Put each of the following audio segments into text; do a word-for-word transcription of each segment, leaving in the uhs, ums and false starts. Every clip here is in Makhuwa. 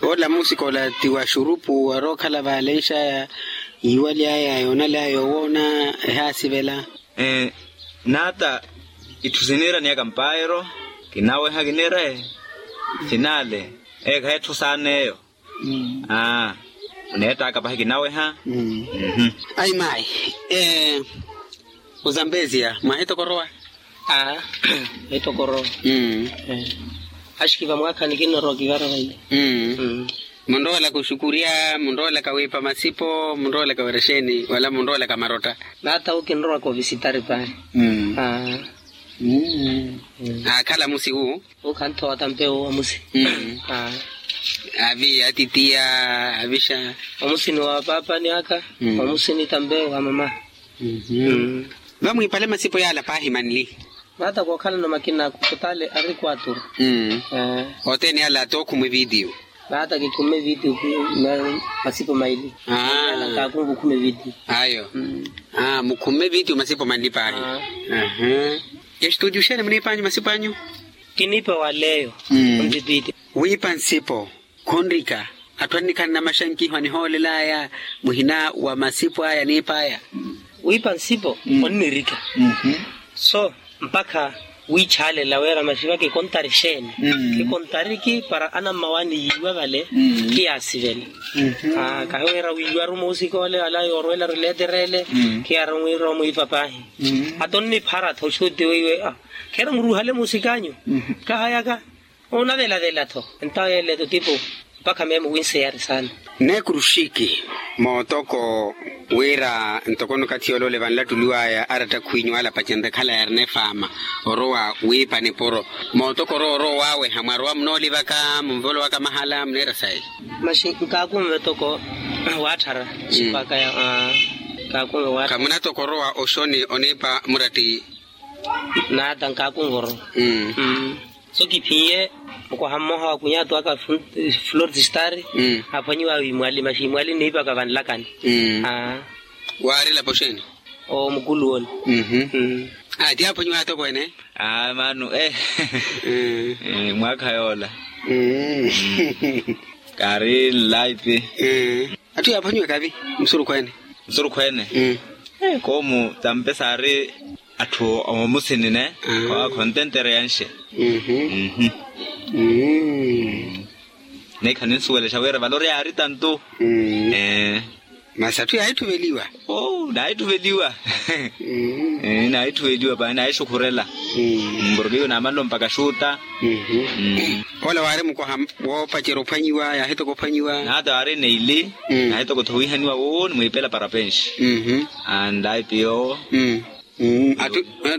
Ola musika ola ti wa xurupu warookhala vaale nxaya, yiiwaly'aya yoonaly'aya yoowoona, ehaasivela. N'ata itthu siniira niyaka mpaayero, kinaweha kinire, finaale, eekha etthu saana eyo. Aa, oneettaka pahi kinaweha. Ayi mayi. Ozambezia mwahitokorowa? Aa, mwahitokorowa. Axiki vamwaakhani kinnorowa kivara vaile. Munroolaka oxukurya, munroolaka wiipa masipo, munroolaka wira exeeni wala munroolaka marotta? Naata wu kinrowa kovisitari pahi. Aakhala musi wu. Wu khanthowa tampewu wamusi. Avi atitiya, avixa. Wamusi ni wa paapani aka. Wamusi ni tampewu wa mama. Vamwiipale masipo yaala paahi manli. Vaata kookhalana makina kutale ari kwaturu. Othene yaala tookhumwe vitiyo. Vaata kikhumme vitiyo. Masipo maili. Kaakunva okhumme vitiyo. Ayo. Mukhumme vitiyo masipo manli paahi. Estudio xeeni muniipanyu masipo anyu? Kiniipa waleyo. Onzipite. Wiipa nsipo khunrika. Atthu annikhala namaxankiho anihoolelaya muhina wa masipo aya aniipaya. Wiipa nsipo onnirika. So mpakha wiichaalela wira maxivaka ekontari xeeni. Ekontariki para anammawaani yiiwa vale. Khiyaasivela. Kahi wira wiiwaru muusika ole wala yoorwelaru leeterele. Khiyaari wiira omwiipa paahi. Ata onniphara-tho oxuti weiwe. Kheera muruuhale muusikanyu. Kahayaka. Onavelavela-tho entawo yeele-tho tipo. Mpakha meemo winseyari saana. Neekuruxiki mootoko wira ntoko nikathi yoole ole vanlattuliwaya aratta khwiinyu ala pacenre khala yaarina efaama orowa wiipa nipuro. Mootoko orowa orowa waaweha mwarowa munoolivaka munvolowaka mahala muneera sayi? Maxi nkaakunve toko waatthara. Sipaka ya nkaakunve waatthara. Khamunatoko orowa oxoni oniipa muratti? Naata nkaakunvoro. So kiphiye mukwaha mmoha wa kunyatu aka flor de star. Aphwanyiwa wimwali maxi imwali niipaka vanlakani. Waari elapo xeeni? Omukulu ole. Ati aphwanyiwa atokweene? Maanu eh. Mwaakha yoola. Kaari nlaipi. Atthu yaaphwanyiwa kavi? Musurukhweene. Musurukhweene. Koomu tampe saari atthu omusinine. Khontentereyanxe. Neekha ninsuwelexa wira vale ori yaari tantu. Masi atthu yaahittuveliwa? Naahittuveliwa. Naahittuveliwa paani naaxukhurela. Porke iwo naamanle ompaka xuuta. Ola waari mukwaha woopacerya ophwanyiwa yaahitoka ophwanyiwa? Naata waari neili. Naahitoka-tho wiihaniwa wowo nimwiipela parapenxi. Andaipi yoowo.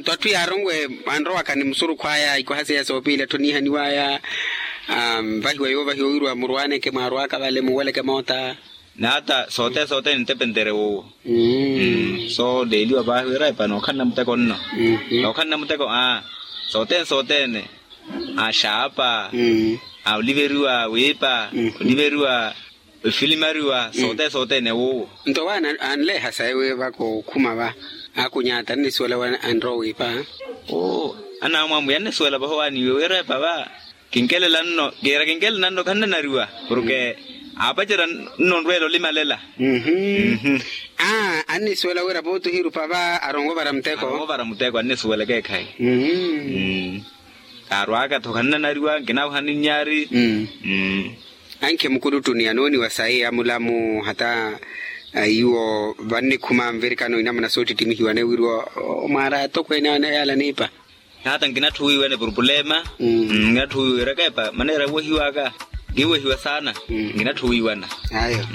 Atthu yaaronwe anrowaka ni musurukhu aya ikwaha seiya soopiili atthu aniihaniwaya. Vahiwa yoovahiwa wiriwa murwaaneke mwaarwaaka vale muweleke moota. Naata sothene sothene nintepentere wowo. So leeliwa paahi wira epa nookhanna muteko nno. Nookhanna muteko aa sothene sothene. Axaapa. Oliveriwa wiipa. Oliveriwa ofilimariwa sothene sothene wowo. Nto wa anleeha sayi wi vaka okhuma va. Akunyaata annisuwela wi anrowa wiipa. Oo anaamwamwiya annisuwela vaho waaniiwe wira epa va. Kinkelela nno kiira kinkelela nno khannanariwa porke aapacerya nno onrweela olimalela. Annisuwela wira pooti ohirupa va aronwe ovara muteko. Aronwe ovara muteko annisuwela ekeekhayi. Kaarwaaka-tho khannanariwa nkinaahuha ninyaari. Ankhe mukuluttuni anooniwa sayi amulamu hata iwo vannikhuma nvirikano inamuna soottittimihiwa neewiriwa omwaara atokweene aneeyala niipa. Hata nkinatthu wiiwana epurupulema. Nkinatthu wiiwana ekeepa maneera ewehiwaka nkiwehiwa saana. Nkinatthu wiiwana ayo.